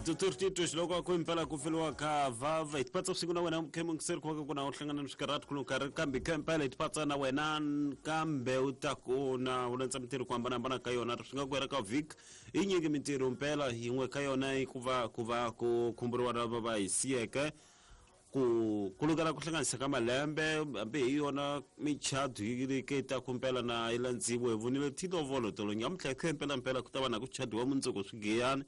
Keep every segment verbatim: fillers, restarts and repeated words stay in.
Doctor Tito xiloko ku impela ku feliwa ka vava hi tipatsa vusiku na wena mukhemungiseri ku va ku na u hlangana ni swikarhati ku nkarhi kambe kha impela hi tipatsa na wena kambe u ta ku na u landza mintirho ku hambanahambana ka yona swi nga ku hela ka vhiki i nyingi mintirho mpela yin'we ka yona i ku va ku va ku khumburiwa lava va hi siyeke ku ku lukela ku hlanganisa ka malembe hambi hi yona michado yi ri ke ta ku mpela na yi landziwe hi vonile tilovolo tolo nyamuntlha kha impela mpela ku ta va na ku chadiwa mundzuku swigiyani.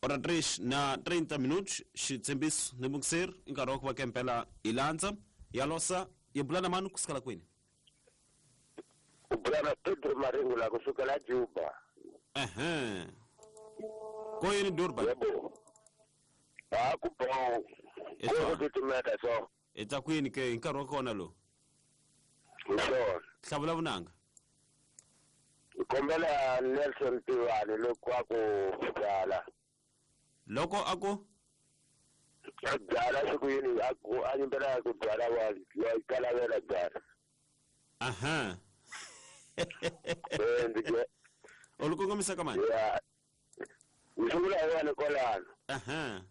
Ora três na trinta minutos, xitshembiso ni mungiseri i nkarhi wa ku va kempela hi landza ya losa yi bula na mani kusukela kwini? U bula na Pedro Maringo la kusukela Juba. Ehe. Ko yini Durban? Yebo. A ku bo. Ko ku titimeta so. I ta kwini ke hi nkarhi wa kona lowu? Hi swona. Hlavula vunanga. Hi kombela Nelson Tivani loko a ku byala. Loko a ku a byala siku yini a ku a nyimbela ku byala wa wa kalavela byala. Aha. Eh ndike. U li kongomisa ka mani? Ya. Ni sungula hi wena kwalano. Aha.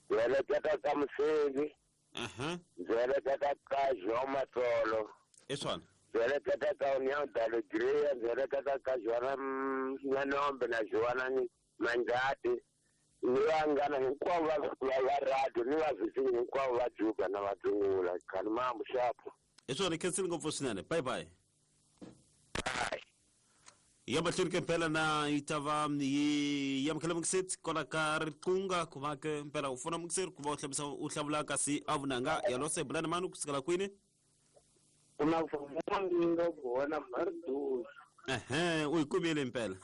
Ndzi heleketa ka Musengi. Aha. Ndzi heleketa ka João Matsolo. I swona. Ndzi heleketa ka União da Alegria, ndzi heleketa ka Joana Nyanombe na Joana Manjati. Ni vanghana hinkwavo va va radio ni vavhisi hinkwavo va Juba na Vadzungula khani mambu xapo. I swona khensile ngopfu swinene. Bye bye. Bye. Ya mahlweni ke mpela na yi ta va yi amukela mungiseti kwala ka riqunga ku va ke mpela u fona mungiseri ku va u hlambisa u hlavula kasi a vunanga ya lose bula na mani kusukela kwini? Kuna vumanga vona marduzi. Ehe, u yi kumile mpela.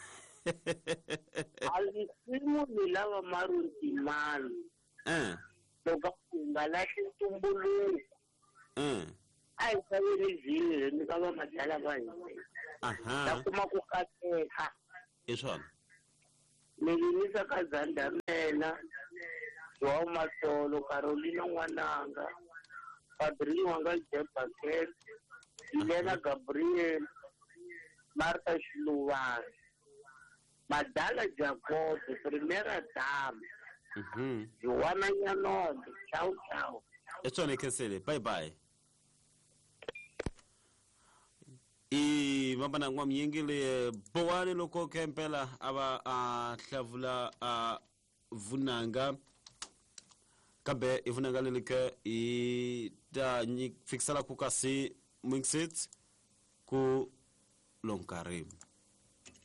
Alisimu ni lava maruntimani. Eh. Loko u nga lahli ntumbuluko. Eh. A hi xaveni vhinyo ni ka va madala va hina. Aha. Ta kuma ku kateka. I swona. Ni yimisa ka Zandamela, João Matsolo, Carolina N'wananga, Padrinho wanga Jebakel, Helena Gabriel, Martha Xiluvani, Madala Jacob, Primera Dama, Mhm. Joana Nyanombe. Tchau, tchau. I swona khensile. Bye bye. I vambana n'wamyingi le bowani loko kempela a va a hlavula a vunanga kambe i vunanga leri ke i ta fikisela ku kasi mixit ku lonkarhi.